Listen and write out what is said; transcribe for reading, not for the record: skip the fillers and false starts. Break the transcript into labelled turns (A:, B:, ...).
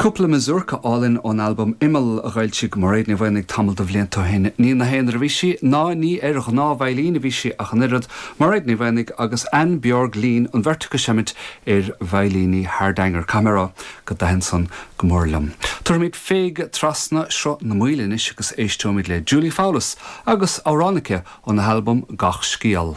A: Cúpla mazurka álainn ón albam Imeall a dh'fhoilsigh Mairéad Ní Mhaonaigh tamall de bhlianta ó shin. Ní ina haonar a bhí sí, ná ní ar ghnáth-veidhlín a bhí sí ach an oiread, Mairéad Ní Mhaonaigh agus Anne Bjørg Lien, an bheirt acu ag seimint ar veidhlíní Hardanger. Caithfidh mé a rá go dtaithin san go mór liom. Tabharfaimid féig trasna Sruth na Maoile anois agus éisteoimid le Julie Fowlis agus amhrán aici óna halbam Gach Scéal.